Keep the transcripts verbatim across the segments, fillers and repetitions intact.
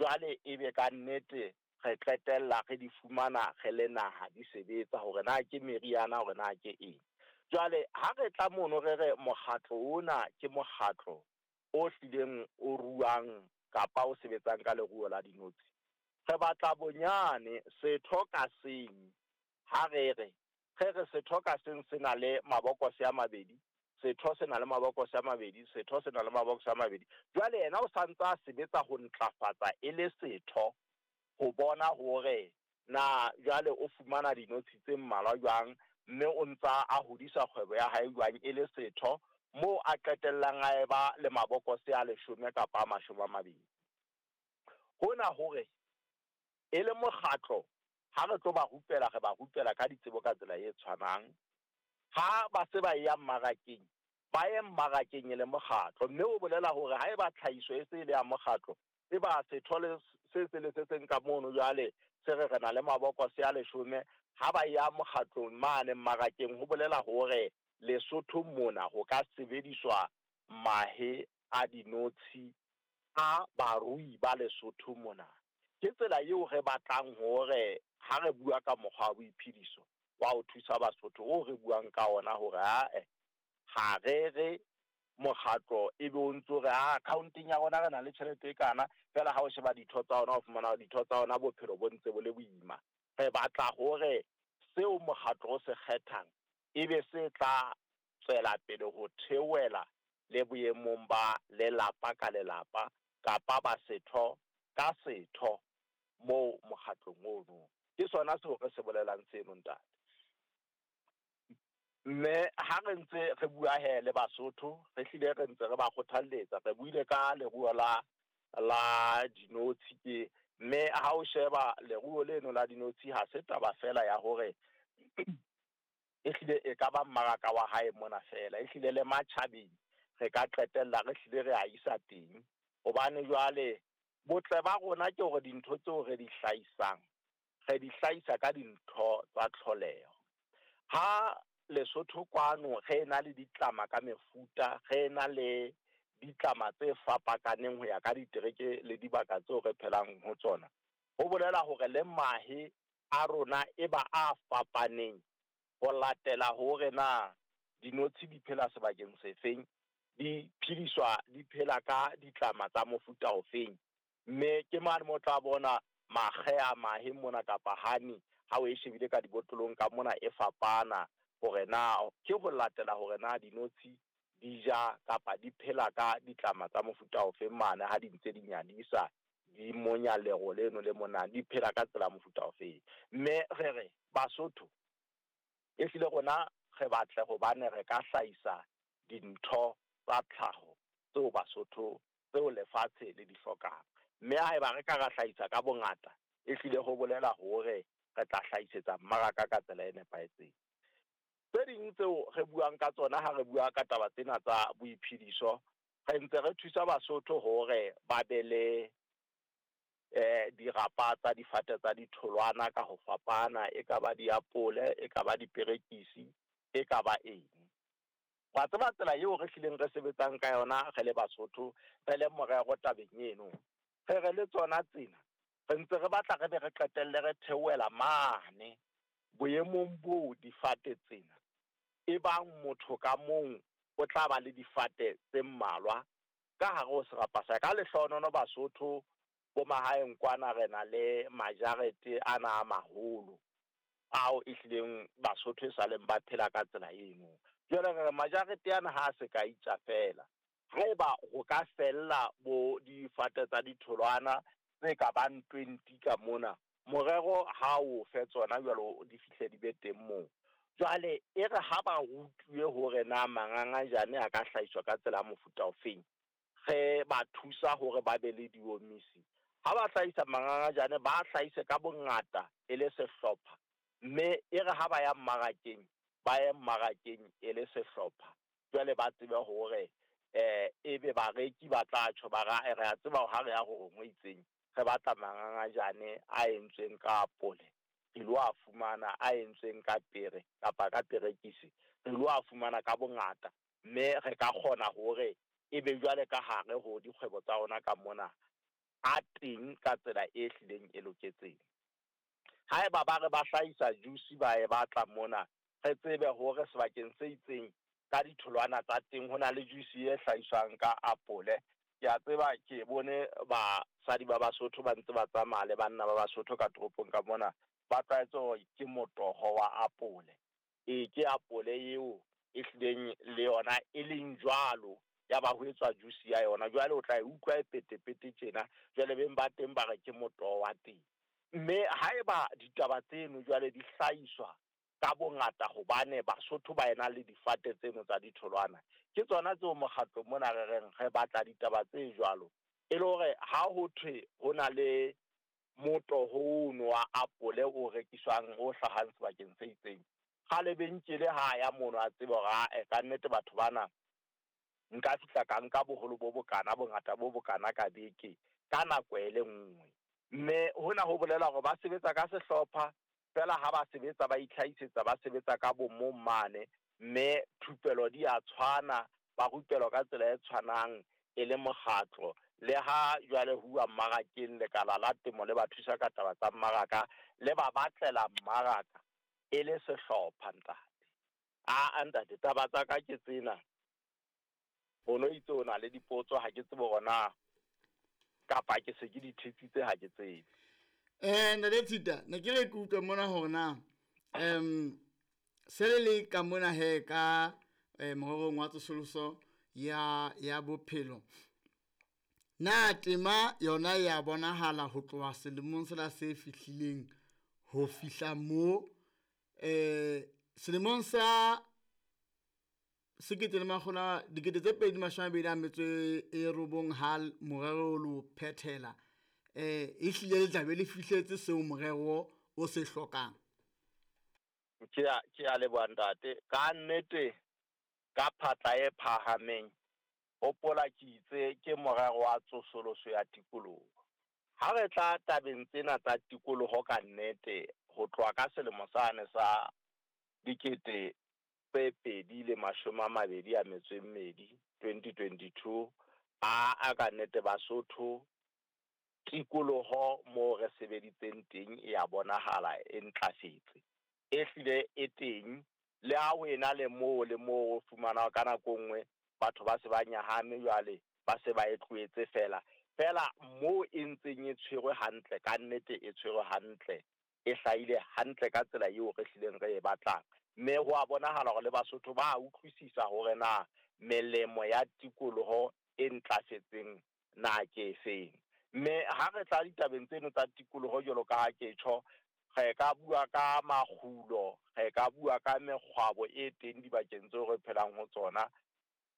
Jwale ebe ka nnete re qetella re di fumana re le naha di sebetsa hore na ke meriana hore na ke eng. Jwale ha re tla mono re re mokgatlo ona ke mokgatlo o hlileng o ruang kapa o sebetsang ka leruo la dinotshi. Re batla bonyane setho ka seng ha re re re re setho ka seng se na le mabokose a mabedi, setho se na le mabokose a mabedi, setho se na le mabokose a mabedi. Jwale yena o santsa a sebetsa ho ntlafatsa e le setho ho bona hore na jwale o fumana dinotshi tse mmalwa jwang, mme o ntsa a hodisa kgwebo ya hae jwang e le setho, moo a qetellang a eba le mabokose a leshome kapa a mashome a mabedi. Hona hore e le mokgatlo ha re tlo ba rupela, re ba rupela ka ditsebo ka tsela e tshwanang. Ha ba se ba ya mmarakeng, ba ye mmarakeng e le mokgatlo, mme o bolela hore haeba tlhahiso e se e le ya mokgatlo, e ba setho le se se le se seng ka mono jwale se re re na le mabokose a leshome, ha ba ya mokgatlong mane mmarakeng ho bolela hore Lesotho mona ho ka sebediswa mahe a dinotshi a barui ba Lesotho mona. Ke tsela eo re batlang hore ha re bua ka mokgwa wa boiphediso wa ho thusa Basotho o re buang ka ona hore ae ha re re mokgatlo ebe o ntso re a account-eng ya rona re na le tjhelete e kana fela ha o sheba ditho tsa ona o fumana hore ditho tsa ona bophelo bo ntse bo le boima. Re batla hore seo mokgatlo o se kgethang ebe se tla tswela pele ho theohela le boemong ba lelapa ka lelapa kapa ba setho ka setho moo mokgatlong ono. Ke sona seo re se bolelang seno ntate. Mme ha re ntse re bua he le Basotho, re hlile re ntse re ba kgothalletsa, re buile ka leruo la la dinotshi ke, mme ha o sheba leruo leno la dinotshi ha se taba fela ya hore e hlile e ka ba mmaraka wa hae mona fela, e hlile le matjhabeng re ka qetella re hlile re a isa teng. Hobane jwale botle ba rona ke hore dintho tseo re di hlahisang, re di hlahisa ka dintho tsa tlholeho. Ha Lesotho kwano re na le ditlama ka mefuta, re na le ditlama tse fapakaneng ho ya ka ditereke le dibaka tseo re phelang ho tsona. Ho bolela hore le mahe a rona e ba a fapaneng ho latela hore na dinotshi di phela sebakeng sefeng, di phediswa di phela ka ditlama tsa mofuta ofeng. Mme ke mane mo tla bona makge a mahe mona kapa honey ha o e shebile ka dibotlolong ka mona e fapana hore na ke ho latela hore na dinotshi di ja kapa di phela ka ditlama tsa mofuta ofeng mane ha di ntse di nyadisa di monya lero leno le mona di phela ka tsela mofuta ofeng. Mme re re Basotho e hlile rona re batle hobane re ka hlahisa dintho tsa tlhaho tseo Basotho tseo lefatshe le di hlokang. Mme haeba re ka ra hlahisa ka bongata e hlile ho bolela hore re tla hlahisetsa mmaraka ka tsela e nepahetseng. Tse ding tseo re buang ka tsona ha re bua ka taba tsena tsa boiphediso, re ntse re thusa Basotho hore ba be le eh dirapa tsa difate tsa ditholwana ka ho fapana, e ka ba diapole, e ka ba diperekisi, e ka ba eng. Wa tseba tsela eo re hlileng re sebetsang ka yona re le Basotho, re le morero tabeng eno. Re re le tsona tsena, re ntse re batla re be re qetelle re theohela mane boemong bo difate tsena. E bang motho ka mong o tla ba le difate tse mmalwa ka hare ho serapa sa ka. Lehlohonono Basotho bo mahaeng kwana re na le majarete ana a maholo ao e hlileng Basotho e saleng ba phela ka tsela eno. Jwale re re majarete ana ha se ka itja fela, haeba ho ka fella bo difate tsa ditholwana tse ka bang twenty ka mona, morero ha o fe tsona jwalo di fihle di be teng moo. Jwale e re ha ba rutuwe hore na mangangajane a ka hlahiswa ka tsela ya mofuta ofeng, re ba thusa hore ba be le diomisi. Ha ba hlahisa mangangajane ba hlahise ka bongata e le sehlopha, mme e re ha ba ya mmarakeng ba ye mmarakeng e le sehlopha. Jwale ba tsebe hore eh ebe bareki ba tla tjho ba ra re a tseba ha re ya ho ngwe itseng re batla mangangajane a entsweng ka apole, re lo a fumana a entsweng ka pere kapa ka perekisi, re lo a fumana ka bongata, mme re ka kgona hore ebe jwale ka hare ho dikgwebo tsa rona ka mona a teng ka tsela e hlileng e loketseng. Haeba ba re ba hlahisa juice ba e batla mona, re tsebe hore sebakeng se itseng ka ditholwana tsa teng ho na le juice e hlahiswang ka apole. Ke a tseba ke bone basadi ba Basotho ba ntse ba tsamaya le banna ba Basotho ka toropong ka mona, ba tlwaetse hore ke motoho wa apole. E ke apole eo e hlileng le yona e leng jwalo, ya ba ho etswa juice ya yona. Jwale o tla e utlwa e petepete tjena, jwale beng ba teng ba re ke motoho wa teng. Mme haeba ditaba tseno jwale di hlahiswa ka bongata hobane Basotho ba ena le difate tseno tsa ditholwana, ke tsona tseo mokgatlo mona re reng re batla ditaba tse jwalo, e le hore ha ho thwe ho na le motoho ono wa apole o rekiswang o hlahang sebakeng se itseng, ralebenkele ha ya mono a tsebe hore ae ka nnete batho bana nka fihla ka nka boholo bo bokana, bongata bo bokana ka beke ka nako e le nngwe. Mme hona ho bolela hore ba sebetsa ka sehlopha fela, ha ba sebetsa ba itlhahisetsa, ba sebetsa ka bomong mane, mme thupelo di a tshwana, ba rupelwa ka tsela e tshwanang e le mokgatlo. Le ha jwale huwa mmarakeng, lekala la temo le ba thusa ka taba tsa mmaraka, le ba batlela mmaraka e le sehlopha ntate. A ntate, taba tsa ka ke tsena. O no itse o na le dipotso, ha ke tsebe hore na kapa ke se ke di thetsitse, ha ke tsebe. Eh ntate Tshita, ne ke re ke utlwe mona hore na um se le le ka mona he ka eh, morerong wa tsosoloso ya ya bophelo, na tema yona ya bonahala ho tloha selemong sena se fihlileng ho fihla mo eh selemong sa sekete le makgolo a dikete tse pedi mashome a mabedi a metso e robong ha morero lo phethela, eh e hlile le tlabe le fihletse seo morero o se hlokang? Ke a ke a leboha ntate. Ka nnete ka phatla e phahameng, hopola ke itse ke morero wa tsosoloso ya tikoloho. Ha re tla tabeng tsena tsa tikoloho ka nnete, ho tloha ka selemo sane sa dikete tse pedi le mashome a mabedi a metso e mmedi, twenty twenty-two, a a ka nnete Basotho tikoloho moo re sebeditseng teng e a bonahala e ntlafetse, e hlile e teng. Le ha ho ena le moo le moo o fumana ka nako nngwe batho ba se ba nyahame jwale, ba se ba e tlohetse fela. Fela moo e ntseng e tshwerwe hantle, ka nnete e tshwerwe hantle, e hlahile hantle ka tsela eo re hlileng re e batlang. Mme ho a bonahala hore le Basotho ba utlwisisa hore na melemo ya tikoloho e ntlafetseng na ke efeng. Mme ha re tla ditabeng tseno tsa tikoloho jwalo ka ha ke tjho, re ka bua ka makgulo, re ka bua ka mekgwabo e teng dibakeng tseo re phelang ho tsona.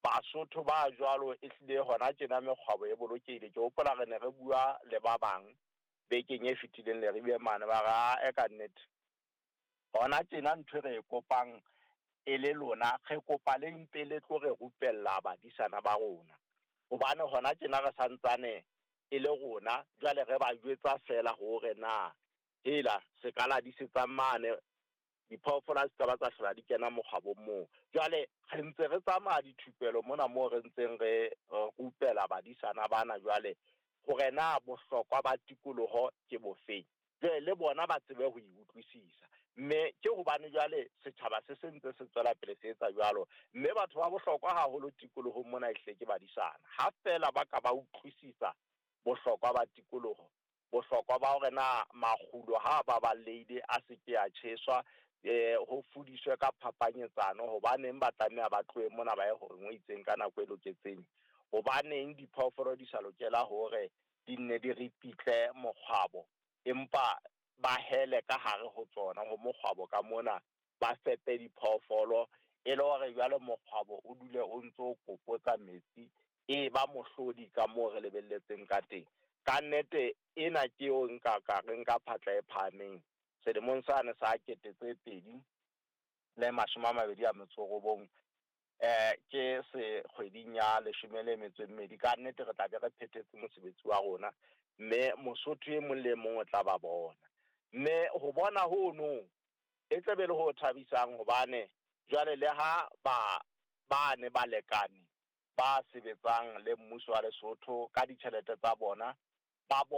Basotho ba jwalo e hlile hona tjena mekgwabo e bolokehile. Ke hopola re ne re bua le ba bang bekeng e fetileng Leribe mane, ba re ae ka nnete hona tjena ntho e re e kopang e le lona, re kopa le mpe le tlo re rupella badisana ba rona, hobane hona tjena re santsane e le rona jwale re ba jwetsa fela hore na hela se ka la disetsang mane, diphoofolo ha se ka ba tsa hlola di kena mokgwabong moo. Jwale re ntse re tsamaya dithupelo mona moo re ntseng re rupela badisana bana jwale hore na bohlokwa ba tikoloho ke bofeng, jwale le bona ba tsebe ho e utlwisisa. Mme ke hobane jwale setjhaba se se ntse se tswela pele se etsa jwalo, mme batho ba bohlokwa haholo tikolohong mona ehlile ke badisana. Ha fela ba ka ba utlwisisa bohlokwa ba tikoloho, bohlokwa ba hore na makgulo ha ba balehile a se ke a tjheswa, eh ho fudiswe ka phapanyetsano, hobaneng ba tlameha ba tlohe mona ba ye horeng o itseng ka nako e loketseng, hobaneng diphoofolo di sa lokela hore di nne di ripitle mokgwabo, empa ba hele ka hare ho tsona ho mokgwabo ka mona, ba fepe diphoofolo e le hore jwale mokgwabo o dule o ntso o kopotsa metsi, e ba mohlodi ka moo re lebelletseng ka teng. Ka nnete ena ke eo nka ka re nka phatla e phahameng selemong sane sa kete tse pedi le mashome a mabedi a metso robong, eh ke se kgweding ya leshome le metso e mmedi. Ka nnete re tla be re phethetse mosebetsi wa rona, mme Mosotho e mong le mong o tla ba bona. Mme ho bona hono e tla be le ho thabisang, hobane jwale le ha ba ba ne ba lekane ba sebetsang le mmuso wa Lesotho ka ditjhelete tsa bona, Ba